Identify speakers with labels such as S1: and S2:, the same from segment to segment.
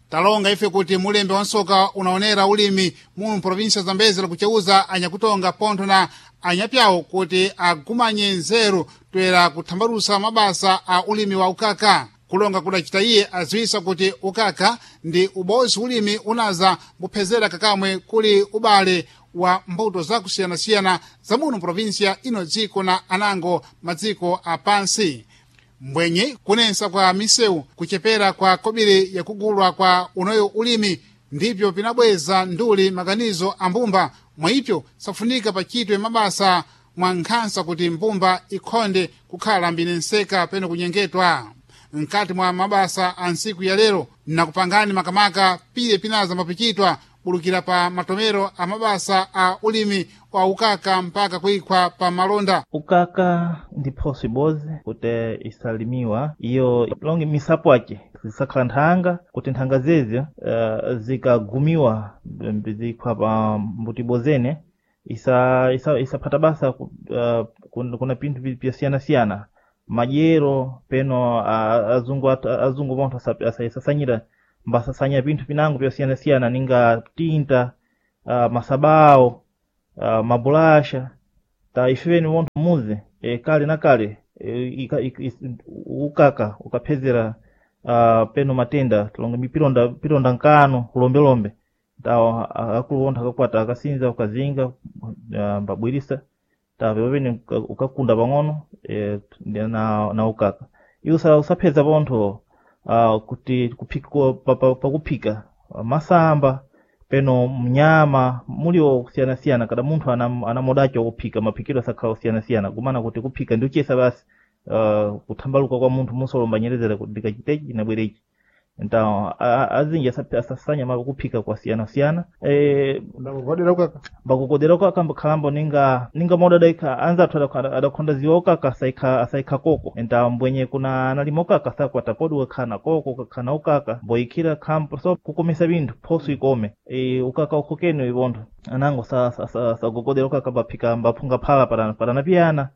S1: Talonga ife kuti mulembe wa nsoka unaonera ulimi muno provinsia Zambezi lakucheuza anyakutonga pontho na anyapyawo kuti agumanye nzeru toera kuthambalusa mabasa a ulimi wa ukaka. Kulonga kudacita iye aziwisa kuti ukaka ndi ubozi ulimi unaza mbuphezera kakamwe kuli ubale wa mbuto zakusiyanasiyana za muno provinsia ino dziko na anango madziko apansi. Mbwenye kunensa kwa misewu, kuchepera kwa kobiri yakugulwa kwa unoyo ulimi ndipyo pinabweza nduli maganizo a mbumba. Mwaipyo safunika pachitwe mabasa mwa nkhansa kuti mbumba ikhonde kukhala mbinenseka peno kunyengetwa. Mkati mwa mabasa a ntsiku ya lero nakupangani makamaka pile pinaza mapichitwa bulukira pa matomero a mabasa a ulimi wa ukaka mpaka kuikhwa pa malonda.
S2: Ukaka ndi phoso ibodzi kuti isalimiwa iyo longe misapo ake zisakhala nthanga, kuti nthanga zezi zikagumiwa zikhwa pa mbuti ibozene isaphata basa kuna pinthu pyasiyanasiyana madyero peno azungu pontho asasanyira mbasasanya pinthu pinango pyosiyanasiyana ninga tinta, masabawo, mabulasha. Ta ifeni wontho muzi kale na kale ukaka ukaphezera peno matenda tulonge mipilonda pilonda nkano kulombelombe ta akulu wontho akakwata akasinza ukazinga mbabwirisa ta pepene ukakunda pang'ono na ukaka iwo usapheza pontho kuti kuphika pakuphika masamba peno mnyama mulio kusiyanasiyana kada munthu anamodacho kuphika maphikiro asakhala kusiyanasiyana kumana kuti kuphika ndi uchesa basi kuthambaluka kwa munthu musolomba nyerezera kuti ndikachitechi nabwerechi nta azinji asasanya kuphika kwasiyanasiyana.
S1: Ndakukodera ukaka.
S2: Mbakukodera ukaka mbakhalambo ninga moda adaikha anzathu adakhonda ziwa ukaka asaikha koko nta mbwenye kuna analima ukaka sakwata podi ukakhala na koko ukakhala na ukaka mboyikhira khampo so kukomesa binthu phoso ikome ukaka ukhokeni ipontho anango sagogodera ukaka mbaphika mbaphunga phala paranapiyana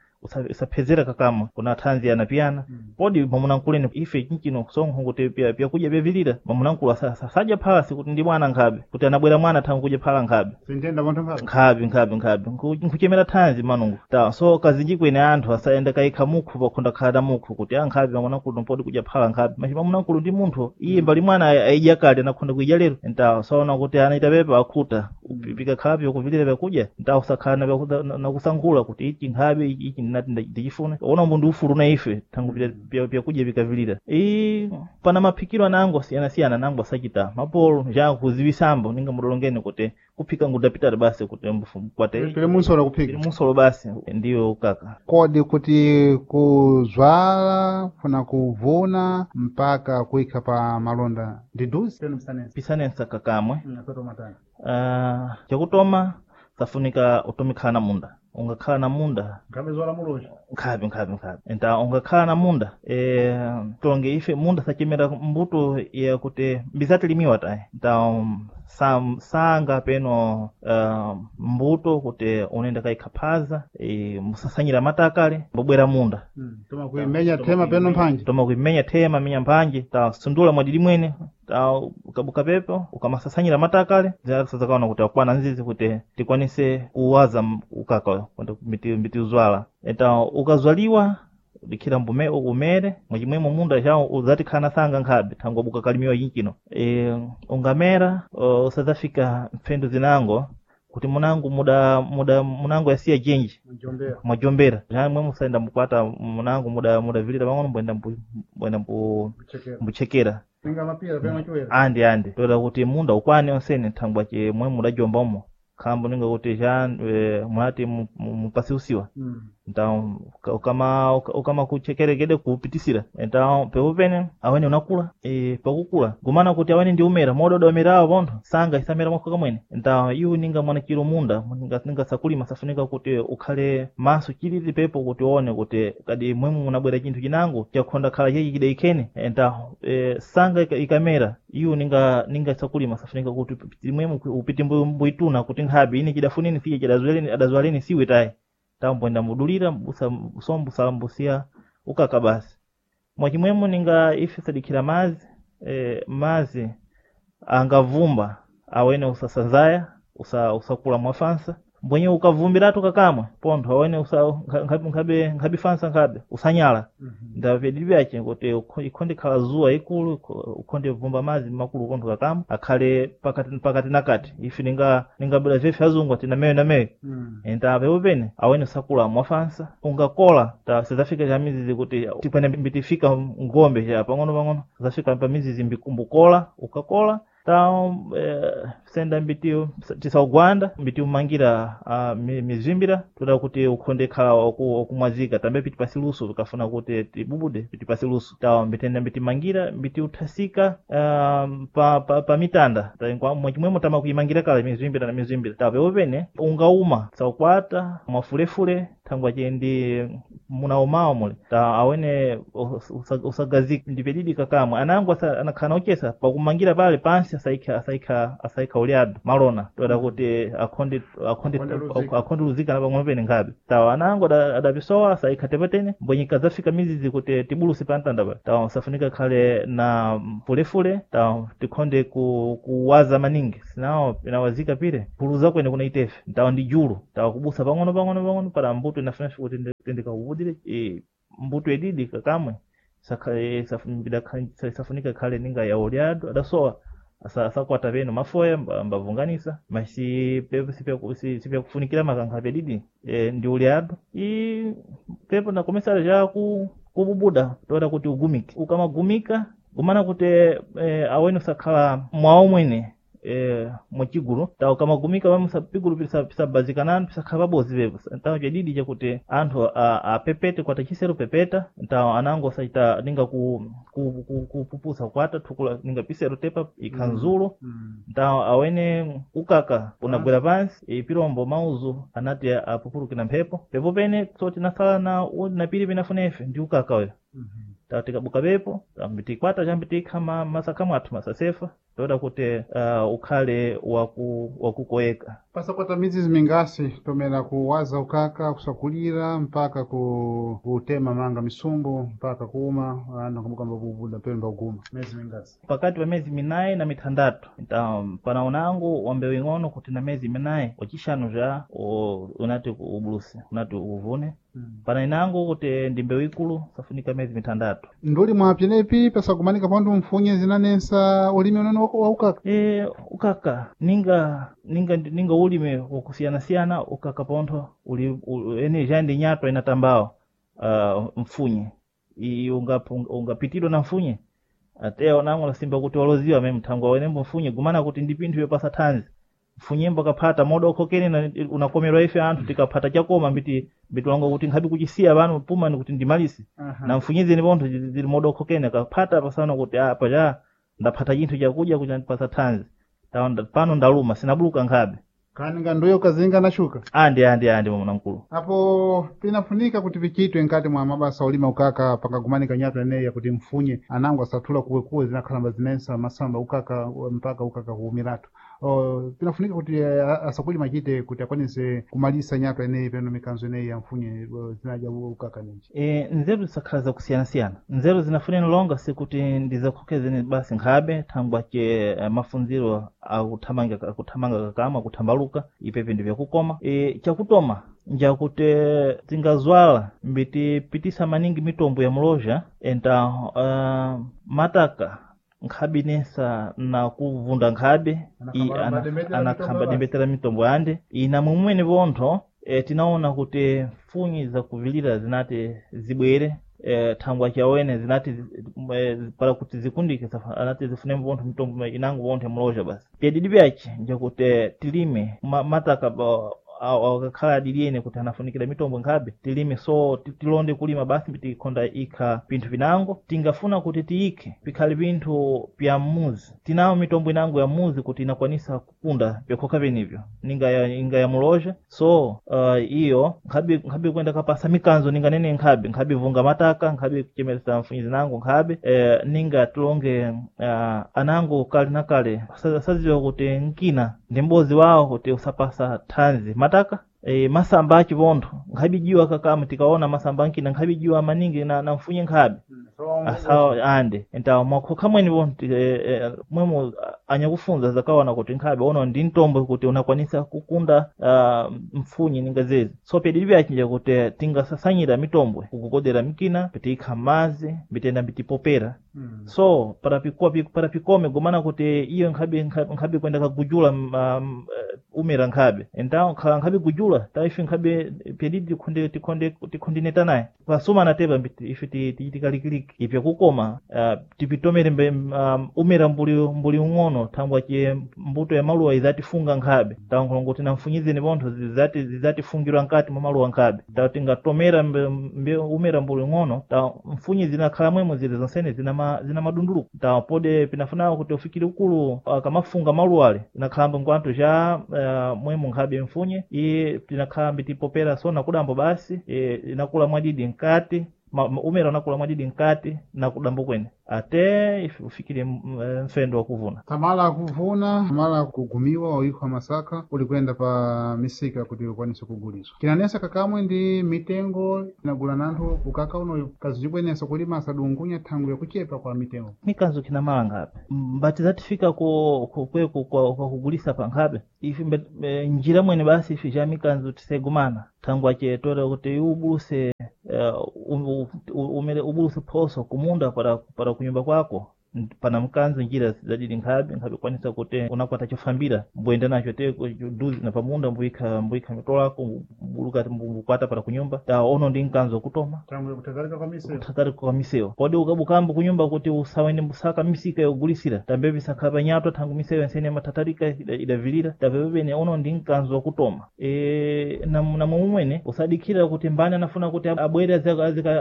S2: usaphezera kakamwe kuna thanzi yanapiyana. Podi mamunankuleni ife chinchino sonkho kuti pyakudya pyavilira mamunankulu asadya phala sikuti ndi mwana nkhabe kuti anabwera mwana thangu kudya phala nkhabe.
S1: Sintenda pontho mphala.
S2: Nkhabe nkhabe nkhabe nkuchemera thanzi manungu ta so kazinji kwene anthu asayenda kayikha mukhu pakhonda khala na mukhu kuti ankhabe mamunankulu podi kudya phala nkhabe machi mamunankulu ndi munthu iye mbali mwana ayidya kale anakhonda kuidya lero nta saona kuti anaita pepa akhuta pikakhala pyokuvilira pyakudya nta usakhala nakusankhula kuti ichi nkhabe ichi ndinati ndichifune ona mbu ndi ufulu na ife thangu pyakudya pikavilira pana maphikiro anango asiyanasiyana anango asachita mapolo njangu kuziwisambo ninga mudolongeni kuti kuphika ngudapitali basi kuti mkwate
S1: Pile munsolo kuphika.
S2: Pili munsolo basi ndiyo ukaka.
S1: Kodi kuti kuzwala kuna kuvuna mpaka kuikha pa malonda ndi duzi peno msanensa?
S2: Pisanensa kakamwe. Chakutoma safunika utomikhala na munda ungakhala na munda.
S1: Nkhabe zola muloja.
S2: Nkhabe nkhabe nkhabe nta ungakhala na munda tonge ife munda sachemera mbuto yakuti mbizatilimiwa tayi nta sanga peno mbuto kuti unenda kaikhaphaza musasanyira matakale mbobwera munda.
S1: Toma kuimenya thema peno mphanje.
S2: Toma kuimenya thema menya mphanje ta sundula mwadidi mwene ta ukabuka pepo ukamasasanyira matakale zakaona kuti akwana nzizi kuti tikwanise kuwaza ukaka kwenda mbiti uzwala eta ukazwaliwa udikhira mbume umere mwachimwemo munda chawo uzatikhala sanga nkhabe thango buka kalimiwa chinchino ungamera usadzafika mpfendo zinango kuti munangu muda muda munangu yasiya jenji mwajombera mwe musaenda mukwata munangu muda mudavilira pang'ono mbwenda mbwenda mbuchekera andi andi toda kuti munda ukwane onsene thangwa che mwe mudajomba umo khambo ninga kuti cha mwati mupasiusiwa nta ukama kuchekerekede kupitisira nta pepopene awene unakula pakukula gumana kuti awene ndi umera mododa umerawo pontho sanga isamera mwakho kamwene nta iwo ninga mwanachiro munda ninga sakulima safunika kuti ukhale maso chilili pepo kuti uone kuti kadi mwemu munabwera chinthu chinango chakhonda khala chechi chidaikhene nta sanga ikamera iwo ninga sakulima safunika kuti mwemu upite mbuituna kuti nkhabe ine chidafuneni siye chidazwaleni adazwaleni siwe tayi tamboenda mudulira mbusa sombusa mbusiya ukaka basi mwachimwemo ninga ife sadikhira mazi mazi. Angavumba awene usasanzaya usakula mwafansa mbwenye ukavumbiratu kakamwe pontho awene usa nkhabe nkhabe fansa nkhabe usanyala. Ndapedili vyace kuti ikhonde khala zuwa ikulu, ukhonde vumba mazi makulu kontho kakamwe akhale pakati pakati na kati ife ningabwera vyefe azungu ati nameyo nameyo. Enta pepo pene awene usakula mwafansa ungakola ta sizafika cha mizizi kuti tikwene mbitifika ngombe cha pang'ono pang'ono zafika pa mizizi mbukola ukakola ta senda mbiti tisaugwanda mbiti umangira mizimbira toda kuti ukhonde khala wakumwazika tambe piti pasi luso tikafuna kuti tibubude piti pasi luso ta mbitenda mbiti mangira mbiti uthasika pa mitanda mwachimwemo tama kuimangira kale mizimbira na mizimbira ta pepo pene ungauma saukwata mwafulefule thangwa chendi munaumawo mule ta awene usagazika ndipedidi kakamwe anango anakhala uchesa pakumangira pale pansi asaikha ulyado malona toda kuti akhonde akhonde
S1: Akhonde luzika.
S2: Luzika na pang'ono pene nkhabe tawa anango adapisowa asaikha tepatene mbwenyika zafika mizizi kuti tibuluse pantanda pa tawa safunika khale na fulefule tawa tikhonde kuwaza maningi sinawo inawazika pile puluza kwene kuna itefe tawa ndi julu tawa kubusa pang'ono pang'ono pang'ono para mbuto inafunafe kuti ndikakubudire mbuto edidi kakamwe safunika khale ninga ya ulyado adasowa asakwata peno mafoya mbavunganisa mas sipyakufunikira makankha pedidi ndi ulyado i pepo nakomesera ja kububuda toda kuti ugumike ukamagumika kumana kuti awene usakhala mwawo mwene mwachigulu ta ukamagumika pamwe pigulu pisabazikananu pisakhala pabozi pepo tawa chadidi chakuti anthu apepete kwata chisero pepeta tawa anango saita ninga kupupusa kwata thukula ninga pisero tepa ikhanzulo. Ntawo awene ukaka unagwera pansi pirombo mauzu anati apupulukira mphepo pepo pene so tinasala na na pili pinafunefe ndi ukaka uyo tawa tikabuka pepo tikwata chambi tikha masakha mwathu masasefa toda kuti ukhale wakukoyeka.
S1: Pasakwata mizizi mingasi tomera kuwaza ukaka kusakulira mpaka kutema manga misumbu mpaka kuuma anthu nkabuka mbabubuda peno mbaguma miezi mingasi?
S2: Pakati pa miyezi minayi na mitandatu pana unango wa mbewu ing'ono kuti na miyezi minayi wachishanu ja unati ubuluse unati uvune. Pana inango kuti ndi mbewu ikulu safunika miyezi mitandatu.
S1: Nduli mwa pyenepi pasakumanika pantu mfunye zinanensa ulimi unene wa ukaka?
S2: Ukaka ninga ulime wakusiyanasiyana ukaka pontho uli ene ja ndi nyatwa inatambawo mfunye ungapitidwa na mfunye ateya onango lasimba kuti waloziwa me mthango awenembo mfunye gumana kuti ndi pinthu yopasa thanzi mfunyembo kaphata moda ukhokene unakomerwa ife anthu tikaphata chakoma mbiti mbitiwanga kuti nkhabe kuchisiya pano pumani kuti ndimalise na mfunyizeni pontho zili moda ukhokene kaphata pasana kuti apa cha ndaphata chinthu chakudya kuti andipasa thanzi tawa pano ndaluma sinabuluka nkhabe.
S1: Kani nga nduyo kazinga na shuka?
S2: Andi andi andi mwamuna mkulu.
S1: Apo pinafunika kuti vichitwe nkati mwa mabasa ulima ukaka pakagumanika nyatwa eneyi yakuti mfunye anango asathula kuwekuwe zinakhalamba zinensa masamba ukaka mpaka ukaka kuumiratu pinafunika kuti asakulima achite kuti akwanise kumalisa nyatwa eneyi peno mikanzo eneyi ya mfunye zinaja ukaka nenji.
S2: Nzeru zisakhala zakusiyanasiyana nzeru zinafuneni longa sikuti ndizakhokezeni basi nkhabe thangwa che mafunziro akuthamanga kakama akuthambaluka ipepe ndi vyakukoma chakutoma njakuti tingazwala mbitipitisa maningi mitombo ya mulozha enta mataka nkhabinesa na kuvunda nkhabe
S1: Anakhamba
S2: anakhamba
S1: mitombo
S2: dembetera mitombo yande ina mumwene pontho tinaona kuti mfunyi zakuvilira zinati zibwere thangwa chawene zinati para kuti zikundike anati zifune pontho mitombo inango pontho mulozha basi pyadidi pyace njakuti tilime mataka akakhala adiliyene kuti anafunikira mitombo nkhabe tilime so tilonde kulima basi tikhonda ikha pinthu pinango tingafuna kuti tiyikhe pikhale pinthu pya mmuzi tinawo mitombo inango ya mmuzi kuti inakwanisa kukunda pyakhokha penivyo ninga ya, inga ya mulozha so iyo nkhabe kwenda kapasa mikanzo ninga nene nkhabe vunga mataka nkhabe kuchemeresa mfunyi zinango nkhabe ninga tilonge anango kale na kale saziwa kuti nkina ndi mbozi wawo kuti usapasa thanzi mataka masamba achipontho nkhabijiwa kakama tikaona masamba ankina nkhabijiwa maningi na mfunye nkhabe.
S1: So
S2: Asawa ande entawo mwakhoka mwene vonti mwemo anyakufunza zakaona kuti nkhabe ono ndi mtombo kuti unakwanisa kukunda mfunyi ninga zezi. So pedili vyachinja kuti tingasasanyira mitombwe kukukodera mikina pitiikha m'madzi mbitenda mbitipopera. So para pikome gomana kuti iyo nkhabe nkhabe kwenda kagujula umera nkhabe então khala nkhabe gujula ta ife nkhabe pedidi tikhonde tikhonde tikhondineta naye pasumana tepa ife tichitikalikiliki ipya kukoma tipitomere mbe umera mbuli mbuli ung'ono thangwa che mbuto ya maluwa izatifunga nkhabe tankholongo tinamfunyizeni pontho zizati zizatifungirwa nkati mwa maluwa nkhabe ta tingatomera mbe, mbe umera mbuli ung'ono ta mfunyi zinakhala mwemo zili zonsene zina zina madunduluko ta pode pinafunawo kuti ufikire ukulu akamafunga maluwa ale inakhalamba nkwantu cha mwemo nkhabe mfunye iye tinakhala mbitipopera sona kudambo basi inakula mwadidi nkati umera unakula mwadidi nkati na kudambo kwene ate ufikire mfendo wa kuvuna.
S1: Tamala kuvuna tamala kugumiwa oikhwa masaka uli kuyenda pa misika kuti ukwanise kuguliswa kinanesa kakamwe ndi mitengo inagula nanthu ukaka uno kazibwenesa kulima asadungunya thangu yakuchepa kwa mitengo.
S2: Mikanzo kinamala nkhabe mbati zatifika ku kwa kugulisa pa nkhabe ife njira mwene basi ife ja mikanzo tisegumana thangu ache toera kuti ubuluse umere ubuluse phoso kumunda para kunyumba kwako pana mkanzo njira zadili nkhabe nkhabe kwanisa kuti unakwata chofambira mbuyenda nacho te duzi na pamunda mbuyikha mbuyikha mitolako mbuluka mbukwata para kunyumba ta ono ndi mkanzo kutoma kuthatalika kwa misewu kodi ukabukambo kunyumba kuti usawende mbusaka misika yogulisira tambe bisakhala panyatwa thangu misewu yensene mathatalika idavilira tapepepene ono ndi mkanzo wakutoma na momwene usadikhira kuti mbani anafuna kuti abwere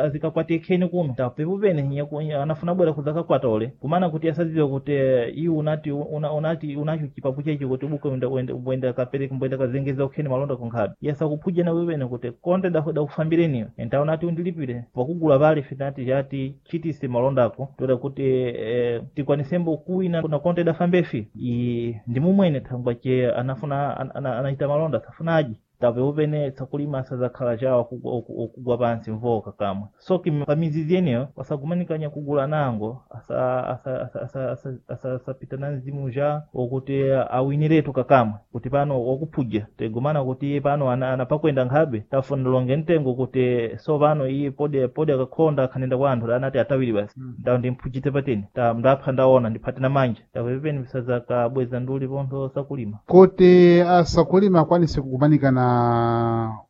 S2: azikakwate kheni kuno tapepepene anafuna abwera kuzakakwata ole kumana kuti asadziwe kuti iwe unati unati unacho chipapu chechi kuti ubuke uenda kapereka mbwenda kazengeza ukheni malonda kunkhabe yasakuphuja na wewene kuti konde dakufambireniyo enta unati undilipire pakugula pale finati chati chitise malondako toda kuti tikwanisembo kuwina na konde dafambefi i ndi mumwene thangwa che anafuna anachita malonda safuna aji tapeupene tsakulima asadzakhala chawo okugwa pansi mvoka kamwe so pamizizi yeneyo pasagumanikanya kugula nango asapita na mzimu ja okuti awiniretu kakamwe kuti pano wakuphuja tegumana kuti iye pano anapakwenda nkhabe tafuna longe mtengo kuti so pano iye pode pode akakhonda akhanenda kwa anthu anati atawiri basi ndawo ndimphujite pateni ta ndapha ndaona ndiphate na manja tapepeni pisadzakabweza nduli pontho sakulima
S1: kuti asakulima akwanise kukumanika na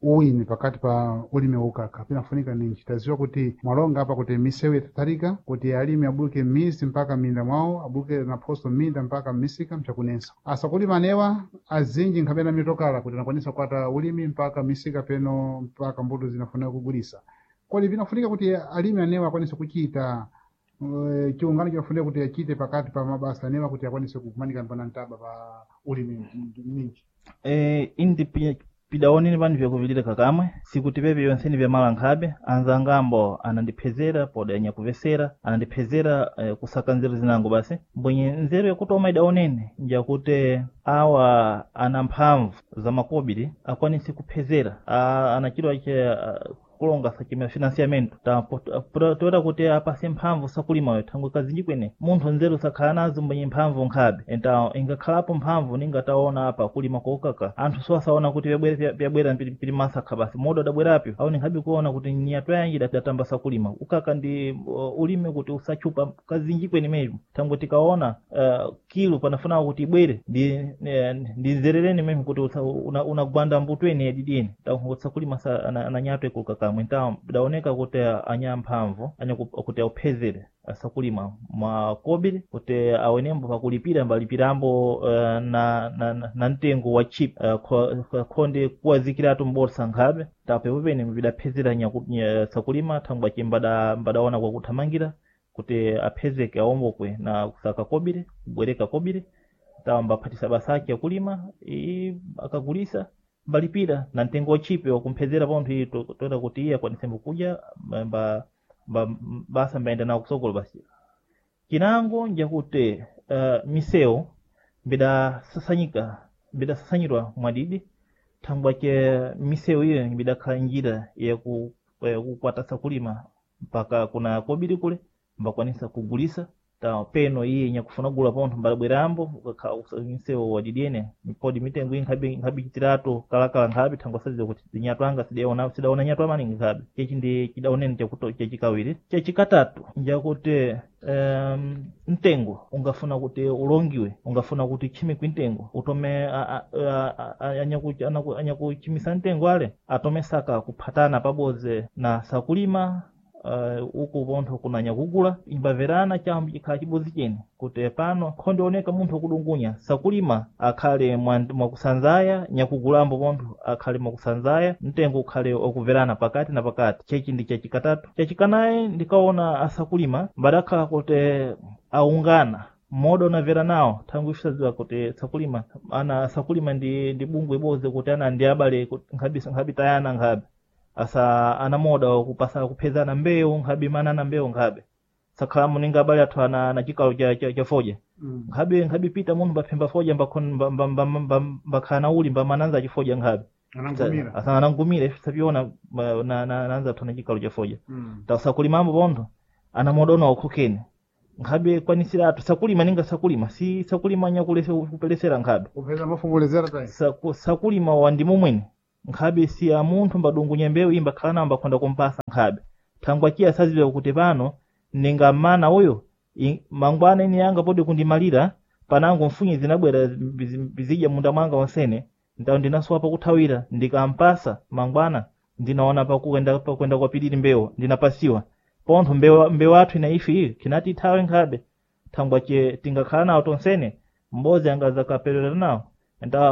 S1: uwini pakati pa ulimi waukaka pinafunika ninji taziwa kuti mwalonga apa kuti misewu yatatalika kuti alimi abuluke m'mizi mpaka m'minda mwawo abuluke naphoso m'minda mpaka m'misika mchakunensa asakulima anewa azinji nkhamene mitokala kuti anakwanisa kukwata ulimi mpaka misika peno mpaka mbuto zinafunika kugulisa kodi pinafunika kuti alimi anewa akwanise kuchita chiungano chinafunika kuti achite pakati pa mabasa anewa kuti akwanise kukumanika pana mtaba pa ulimi minji.
S2: Indi pidaoneni pano vyakuvilira kakamwe sikuti pepe yonseni vyamala nkhabe anzangambo anandiphezera poda anyakuvesera anandiphezera kusaka nzeru zinango basi mbwenye nzeru yakutoma idaonene njakuti awa ana mphamvu za makobiri akwanise kuphezera anachidwa che kulonga sachimera financiamento toera kuti apase mphamvu sakulimayo thangwe kazinji kwene munthu nzeru sakhala nazo mbwenye mphamvu nkhabe enta ingakhalapo mphamvu ningataona apa kulima kokaka anthu so asaona kuti pyabwera pili masakha basi moda adabwerapyo aone nkhabe kuona kuti nyatwa yanji datamba sakulima ukaka ndi ulime kuti usachupa kazinji kwene mecho thangwe tikaona kilo panafuna kuti ibwere ndi nzerereni meme kuti unagwanda mbuto ene yadidini sakulima ananyatwa ikuluka kamwe nta daoneka kuti anya mphamvu anya kuti auphezere asakulima makobiri kuti awenembo pakulipira mbalipirambo na mtengo wa chip khonde kuwazikiratu mborsa nkhabe tapepepene vidaphezera sakulima thangwa che mbadaona kwakuthamangira kuti aphezeke awombokwe na kusaka kobiri kubwereka kobiri tawamba aphatisa basa ake akulima akagulisa mbalipira na mtengo wachipe wakumphezera pontho iyi toera kuti iye akwanisembo kudya basa mbayenda nawo kusokolo basi chinango njakuti misewu mbidasasanyika mbidasasanyidwa mwadidi thangwa che misewu iyo mbidakhala njira yakukwatasa kulima mpaka kuna kobiri kule. Mbakwanisa kugulisa ta peno iye nyakufuna gula pontho mbalabwerambo ukakha wadidiene podi mitengo iyi nkhabe chitiratu kalakala nkhabe thangwa sadziwa kuti zinyatwanga sidaona nyatwa maningi nkhabe. Chechi ndi chidaonene chakuto chachikawiri. Chachikatatu njakuti mtengo ungafuna kuti ulongiwe, ungafuna kuti chimikwe mtengo utome anyakuchimisa mtengo ale atome saka kuphatana pabodzi na sakulima. Uku pontho kunanya kugula imbaverana chambo chikhala chibodzi chene kuti pano khondioneka munthu akudungunya sakulima akhale mwakusanzaya, nyakugulambo pontho akhale mwakusanzaya, mtengo ukhale okuverana pakati na pakati. Chechi ndi chachikatatu. Chachikanayi ndikaona asakulima mbadakhala kuti aungana mmoda unavera nawo thangwi ife kuti sakulima ana sakulima ndi bungwe ibodzi kuti ana ndi abale nkhabe tayana nkhabe asa ana moda kupasa kuphezana mbewu nkhabe manana mbewu nkhabe sakhala muninga abale athu ana chikalo cha foja. Nkhabe pita munthu mbaphemba foja mbakhala na uli mbamananza chifoja nkhabe asa anangumira ife sapiona nanza athu ana chikalo cha foja. Tasakulimambo pontho ana moda una ukhokene nkhabe kwanisira athu sakulima ninga sakulima si sakulima nyakulese kupelesera nkhabe
S1: kupeza mafumulezera tayi
S2: sakulima wandimo mwene nkhabe si a munthu mbadungunya mbewu imba khala nawo mbakhonda kumpasa nkhabe thangwa chiya saziwa kuti pano ninga mana uyo mangwana ine yanga podi kundimalira panango mfunyi zinabwera zidya munda mwanga onsene ntawo ndinasowa pakuthawira ndikampasa mangwana ndinaona pakuenda kwapiliri mbewu ndinapasiwa pontho mbewu athu ina ife iyi kinati ithawe nkhabe thangwa che tingakhala nawo tonsene mbozi angazakaperera nawo nta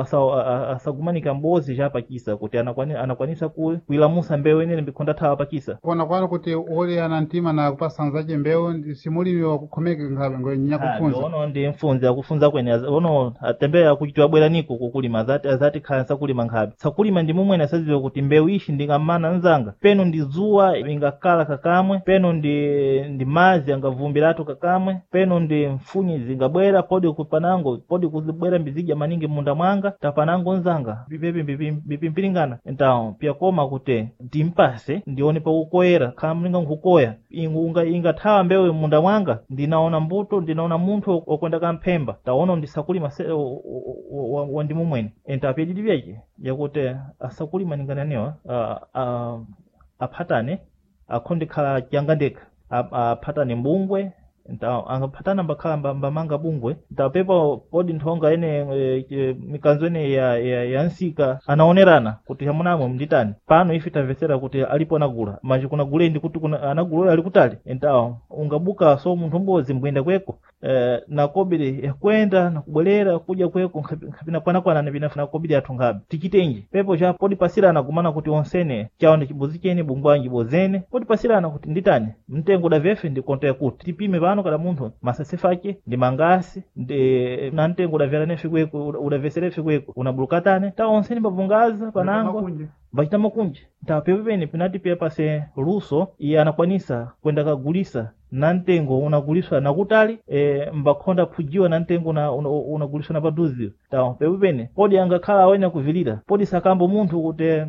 S2: asagumanika mbozi chapachisa kuti anakwanisa kuilamusa mbewu inene mbikhonda thawa pachisa
S1: kuona kwanu kuti uli ana mtima na kupasanzace mbewu simulimi wakukhomeka nkhabe nyakufunza
S2: ono ndi mfunzi akufunza kwene ono atembeya akuchitiwa bwera niko kukulima azati khala sakulima nkhabe sakulima ndi momwene asadziwa kuti mbewu ishi ndingamana nzanga peno ndi zuwa ingakala kakamwe peno ndi mazi angavumbiratu kakamwe peno ndi mfunyi zingabwera podi kupanango podi kuzibwera mbizidya maningi munda mwanga tapanango nzanga bipepi bipimpiringana ntawo pyakoma kuti ndimpase ndione pakukoyera khala mlinga nkukoya ingathawa mbewu munda mwanga ndinaona mbuto ndinaona munthu okwenda kamphemba taona ndisakulima wandimo mwene entapyedidi pyace yakuti asakulima ningananiwa aphatane akhonde khala changa ndekha aphatane mbungwe angaphatana mbakhala mbamanga bungwe ntapepa podi nthonga ene mikanzo ene ya nsika anaonerana kuti hamunamwe mnditani pano ife tamvetsera kuti alipo anagula manje kunagule ndi kuti anagula ali kutali entawo ungabuka so munthu mbozi mbuyenda kweko nakobiri yakwenda nakubwerera kuja kweko nkapinakwanakwana nipinafuna kobiri athu nkhabe tichitenji pepo cha podi pasirana kumana kuti onsene chawo ndi chibozi chene bungwanji bozene podi pasirana kuti nditani mtengo udavyefe ndi konto yakuti tipime pano kada munthu masasefa ache ndi mangasi ndi na mtengo udavyera nefe kweko udavesera fe kweko unabulukatane ta onsene mbavungaza panango mbachita makunji tapepo pene pinati pia pase luso iye anakwanisa kwenda kagulisa na mtengo unaguliswa nakutali mbakhonda phujiwa na mtengo unaguliswa na paduzi tawo pepo pene podi angakhala awene kuvilira podi sakambo munthu kuti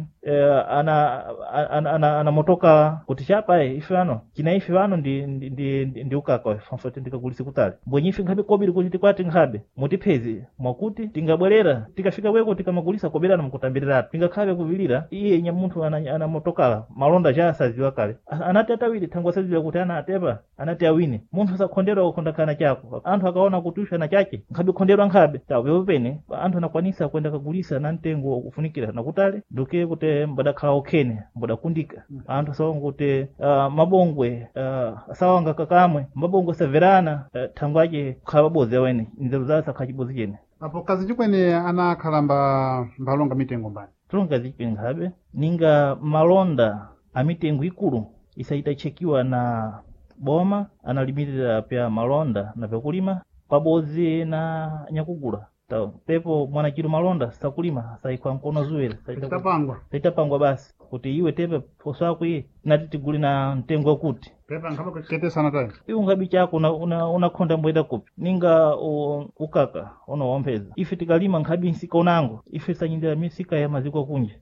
S2: ana motoka kuti chapa ife ano china ife pano ndi ukaka fanfoti ndikagulise kutali mbwenye ife nkhabe kobiri kuti tikwati nkhabe mutiphezi mwakuti tingabwerera tikafika kweko tikamagulisa koberana mukutambirirapo tingakhabe kuvilira iye nya munthu ana motokala malonda cha asaziwa kale anati atawiri thangwe asaziwa kuti ana atepa anati awine munthu asakhonderwa kukhondakana chako anthu akaona kuti usha na chache nkhabe khonderwa nkhabe tawo pepo pene anthu anakwanisa kwenda kagulisa na mtengo wakufunikira nakutali nduke kuti mbadakhala okhene mbadakundika anthu asawanga kuti mabongwe asawanga kakamwe mabongwe asaverana thangwe ache kukhala pabodzi awene nzeru zawo sakhala chibodzi chene
S1: apo kazi chikwene anakhala mbalonga mitengo mbani
S2: tulonga zichipene nkhabe ninga malonda a mitengo ikulu isaitachekiwa na boma analimirira pya malonda na pyakulima pabodzi na nyakugula pepo mwanachiro malonda sakulima saikwa mkono zuwere saitapangwa basi kuti iwe tepe phoso ako iye nati tigule na mtengo wakuti iwe ungabi chako unakhonda mbweta kupi ninga ukaka unowompeza ife tikalima nkhabi nsika unango ife sanyindira misika ya maziko akunja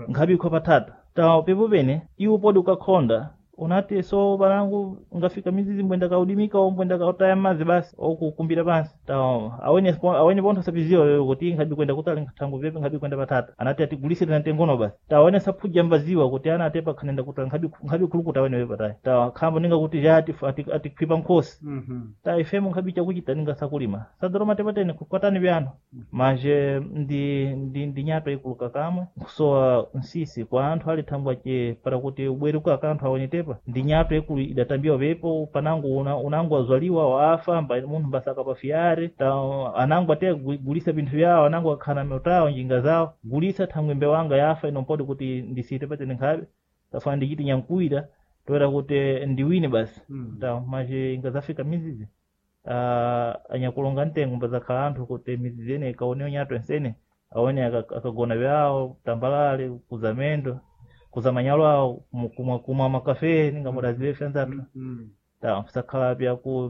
S2: nkhabi ikho patata tawo pepo pene iwe podi ukakhonda Unati so balangu ngafika mizizi mbwenda kaudimika o mbwenda kautaya mazi basi okukumbira pansi ta awene awene pontho sapiziwa wewe kuti nkhabi kwenda kutali nkhathangu vepe nkhabi kwenda patata anati atigulise tena tengono basi ta awene saphuja mbaziwa kuti ana atepa khanenda kutali nkhabi nkhabi khulukuta awene wewe patayi ta khambo ninga kuti ja atikhwipa nkhosi ta ifemo nkhabi chakuchita ninga sakulima sadoroma tepatene kukwatani vyano manje ndi nyato ikuluka kamwe nkusowa nsisi kwa anthu ali thangwa che para kuti ubwere kwa anthu awone tepa ndi nyato ikulu idatambiwa pepo panango unango azwaliwa waafa mba munthu mbasaka pa fiyare ta anango ate gulisa pinthu vyawo anango akhana miotawo njinga zawo gulisa thangwe mbewu anga yafa ino mpoti kuti ndisite patene nkhabe tafana ndichiti nyankuwira toera kuti ndiwine basi ta manje ingazafika mizizi anyakulonga mtengo mbazakhala anthu kuti mizizi ene ikaonewa nyato ensene awone akagona vyawo tambalale kuzamendo kuzamanyalo awo kumwa makafe ninga mudazive fyanzathu ta sakhala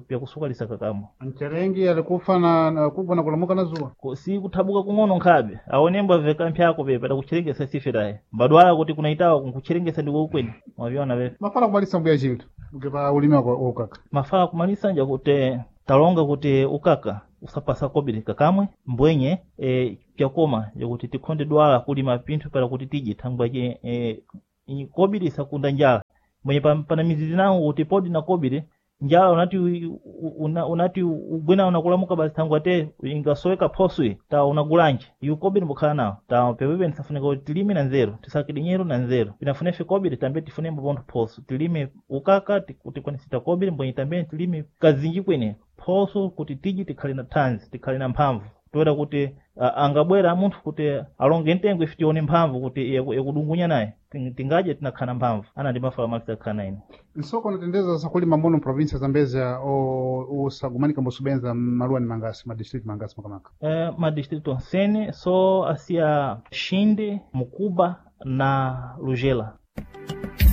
S2: pyakusukalisa kakamwa
S1: Mcherengi alikufa na kufa na kulamuka na zuwa.
S2: Si kuthabuka kung'ono nkhabe aone mbaveka mphyako pepa takucherengesa sife taye mbadwala kuti kunaitawa nkucherengesa ndiko kweni mwavyona pepa
S1: Mafala kumalisa mbuya chinthu ukipa ulimi wako ukaka.
S2: Mafala kumalisa nja kuti talonga kuti ukaka usapasa kobiri kakamwe mbwenye pyakoma yakuti tikhonde dwala kulima pinthu para kuti tidye thangwa che kobiri isakunda njala mwenye pana mizizi nango kuti podi na kobiri njala unati unati ugwena unakulamuka basi thangwa te ingasoweka phoswe ta unagulanje iwe kobiri mbukhala nawo ta pepepe nisafunika kuti tilime na nzeru tisake dinyeru na nzeru pinafunefe kobiri tambe tifunembo pontho phoso tilime ukaka tikwanisita kobiri mbwenye tambe tilime kazinji kwene phoso kuti tidye tikhale na thanzi tikhale na mphamvu toera kuti angabwera munthu kuti alonge mtengo ife tione mphamvu kuti yakudungunya naye tingadye tinakhala mphamvu ana ndi mafala malisa akhala ine
S1: Nsoko unatendeza sakulima muno provinsia Zambezia o usagumanika mbosubenza maluwa ni mangasi ma district mangasi makamaka.
S2: Madistrito onsene so asiya Xinde, Mukuba na Lugela.